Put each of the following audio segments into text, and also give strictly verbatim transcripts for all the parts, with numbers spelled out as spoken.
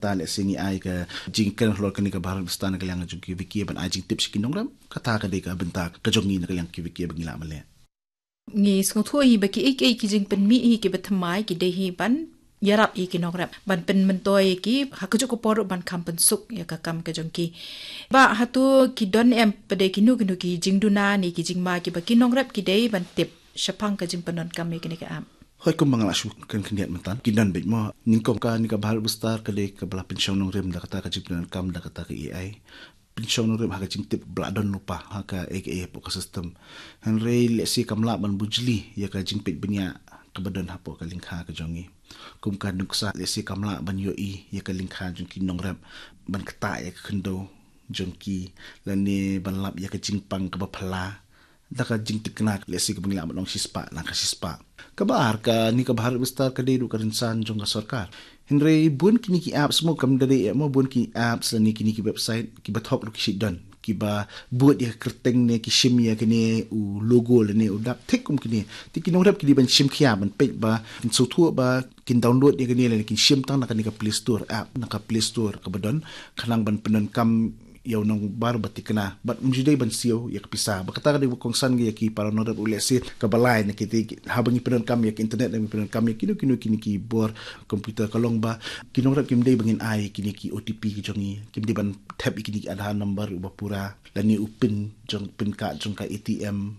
Ta lehse ngi ai ka jingkren halor kane ka Bharat Vistar na ka liang jong ki VK ban ai jingtip sha ki nongrep, kata ka dei ka bynta ka jong ngi na ka liang ki VK ba ngi lah ban leh. Ngi sngewthuh hi ba ki ei ki ei ki jingpynmih hi kiba thymmai ki dei hi ban ïarap ïa ki nongrep, ban pynmyntoi ïa ki ha kajuh ka por ruh ban kham pynsuk ïa ka kam ka jong ki. Bah, hato ki don em pat de kino kino ki jingduna ne ki jingma kiba ki nongrep ki dei ban tip shaphang ka jingpyndonkam ïa kane ka app? Hooid, kumba nga la shu kren khyndiat mynta, ki don beit mo. Nyngkong, kane ka Bharat Vistar ka dei kaba la pynshong nongrim da kata ka jingpyndonkam da kata ka AI. Pynshong nongrim ha ka jingtip ba la don lypa ha ka AI hapoh ka system. Hynrei lehse kam lah ban bujli ïa ka jingpeit bniah kaba don hapoh ka lyngkha ka jong ngi. Kum ka nuksa, lehse kam lah ban ïohi ïa ka lyngkha jong ki nongrep, ban ktah ïa ka khyndew jong ki, lane ban lap ïa ka jingpang kaba phylla da ka jingtikna, lehse kaba ngi lah ban ong shispah na ka shispah. Kaba ar, kane ka Bharat Vistar ka dei ruh ka rynsan jong ka sorkar. Hynrei bun kine ki apps mo, kam da dei eh mo, bun ki apps lane kine ki website kiba thok ruh ki shait don, kiba bud ïa ka kyrteng ne ki shim ïa kane u logo lane u dak thik kum kine. Te ki nongrep ki dei ban shim khia ban peit ba kin sngewthuh ba kin download ïa kane lane kin shim tang na kane ka Play Store app, na ka Play Store kaba don, khnang ban pyndonkam ïa u nongbar ba tikna, bad um ju dei ban siew ïa ka pisa. Ba kata ka dei ba kongsan ïa ki para nongrep ruh, lehse kaba lai na kite, haba ngi pyndonkam ïa ka internet, ngi pyndonkam ïa kino kino kine ki bor computer, ka long ba ki nongrep kim dei ba ngin ai kine ki OTP ki jong ngi, kim dei ban thep ïa kine ki Aadhaar number uba pura, lane u pin jong, pin card jong ka ATM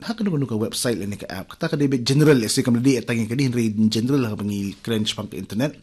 ha kano kano ka website lane ka app. Kata ka dei beit general, lehse kam dei tang ïa kane, hynrei in general haba ngi kren shaphang ka internet,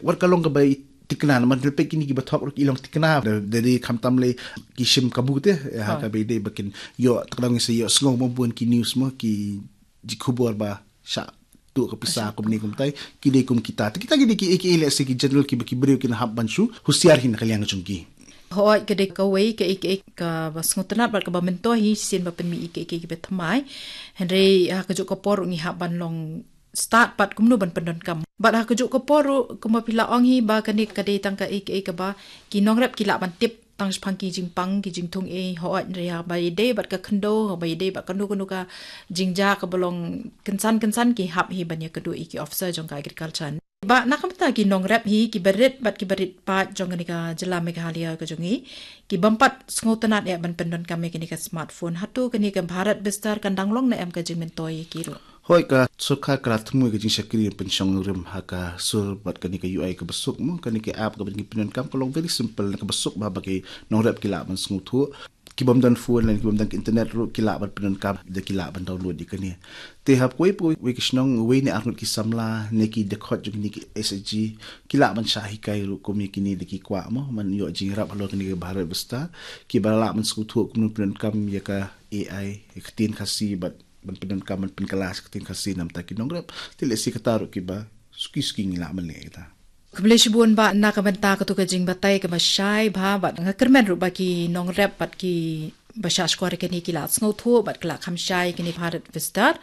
wat ka long kaba i tikna, namar peit kine kiba thok ruh ki long tikna da, da dei khamtam lei ki shim kabu te, ha, kaba dei ba kin ïoh, te ka dang ngi sa ïoh sngew mo bun ki news mo, ki jingkhubor ba shah tuh ka pisa kumne kumtai, ki dei kum kita. Te kita ki dei ki, ki, lehse ki general kiba ki briew kin hap ban shu husiar hi na ka liang jong ki. Hooid, ka dei kawei ka, ka, kaba sngewtynnat bad kaba myntoi hi shisien ba pynmih ïa ki, ki, kiba thymmai. Hynrei ha kajuh ka por ruh ngi hap ban long stad pat kumno ban pyndonkam. Bad ha kajuh ka por ruh, kumba phi la ong hi ba kane ka dei tang ka, ka, kaba ki nongrep ki lah ban tip tang shaphang ki jingpang, ki jingthung ei, hooid, hynrei haba ïadei bad ka khyndew, haba ïadei bad kano kano ka jingjia kaba long kynsan kynsan, ki hap hi ban ïakynduh ïa ki officer jong ka agriculture. Bah, na ka bynta ki nongrep hi kiba rit bad kiba rit paid jong kane ka jylla Meghalaya ka jong ngi, ki bym pat sngewtynnat eh ban pyndonkam ïa kane ka smartphone, hato kane ka Bharat Vistar kan dang long ne em ka jingmyntoi ïa ki ruh? Hooid, ka sorkar ka la thmu ïa ka jingshakri pynshong nongrim ha ka sur bad kane ka UI kaba suk mo, kane ka app kaba ngi pyndonkam ka long very simple, kaba suk ba, ba ki nongrep ki lah ban sngewthuh. Ki bym don phone lane ki bym don internet ruh ki lah ban pyndonkam, da ki lah ban download ïa kane. Te ha kawei pa kawei ka shnong, wei ne ar ngut ki samla ne ki dkhot jong kine ki SHG ki lah ban shah hikai ruh kum ïa kine, da ki kwah mo ban ïoh jingïarap halor kane ka Bharat Vistar, kiba lah ban sngewthuh kumno pyndonkam ïa ka AI, ïa ka ktien Khasi, bad ban pyndonkam ban pynkylla sha ka ktien Khasi na ka bynta ki nongrep. Te lehse kata ruh kiba suki suki ngi lah ban leh kita. Khublei shibun bah na ka bynta katu ka jingbatai kaba shai bha, bad nga kyrmen ruh ba ki nongrep bad kiba shah shkor ïa kane ki la sngewthuh bad ki la kham shai ïa kane Bharat Vistar.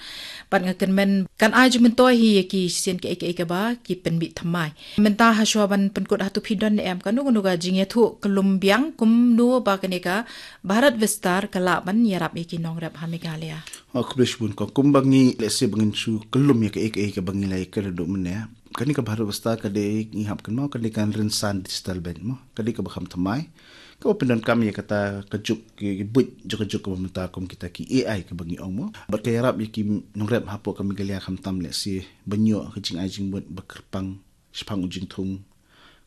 Bad nga kyrmen kan ai jingmyntoi hi ïa ki shisien kaei kaei kaba ki pynmih thymmai. Mynta hashwa ban pynkut, hato phi don ne em kano kano ka jingïathuh kyllum biang kumno ba kane ka Bharat Vistar ka lah ban ïarap ïa ki nongrep ha Meghalaya? Oh, khublei shibun kong. Kumba ngi, lehse ba ngin shu kyllum ïa kaei kaei kaba ngi la ïakren mynne, kane ka Bharat Vistar ka dei, ngi hap kynmaw, ka dei ka rynsan digital beit mo, ka dei kaba kham thymmai, kaba pyndonkam ïa kata ka juk, ki, ki buit jong ka juk kaba mynta kum kita ki AI kaba ngi ong mo. Bad ka ïarap ïa ki nongrep hapoh ka Meghalaya khamtam lehse ban ïoh ka jingai jingmut ba kyrpang shaphang u jingthung,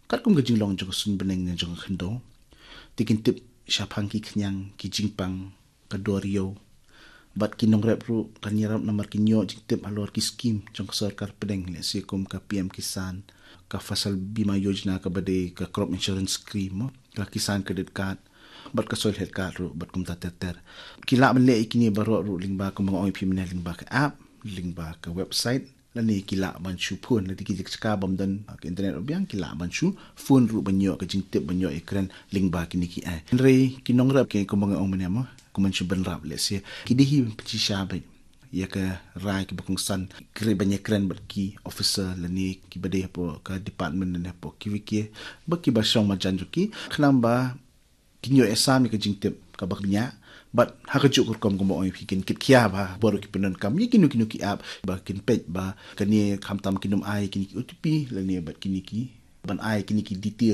katkum ka jinglong jong ka suiñ bneng ne jong ka khyndew. Te kin tip shaphang ki khñiang, ki jingpang, ka dor ïew. Bad ki nongrep ruh kan ïarap namar kin ïoh jingtip halor ki skim jong ka sorkar pdeng, lehse kum ka PM Kisan, ka Fasal Bima Yojana kaba dei ka crop insurance scheme mo, ka Kisan Credit Card, bad ka Soil Health Card ruh, bad kumta ter ter. Ki lah ban leh ïa kine baroh ruh lyngba, kumba nga ong ïa phi mynne, lyngba ka app, lyngba ka website, lane ki lah ban shu phone, lane ki jaka bym don, ah, ka internet ruh biang, ki lah ban shu phone ruh ban ïoh ka jingtip, ban ïoh ïakren lyngba kine ki ai. Hynrei ki nongrep ki, kumba nga ong mynne mo, kumba shu bynrap, lehse ki dei hi ban pynshisha beit ïa ka rai kaba kongsan, kren, ban ïakren bad ki officer lane kiba dei hapoh ka department lane hapoh ki VK, bad kiba shong marjan jong ki, khnang ba kin ïoh ïasam ïa ka jingtip kaba bniah. Bad ha kajuh ka rukom, kumba ong ïa phi, kin kit khia bha baroh ki pyndonkam ïa kino kino ki app, ba kin peit ba kane khamtam kin ym ai kine ki OTP lane bad kine ki ban ai kine ki details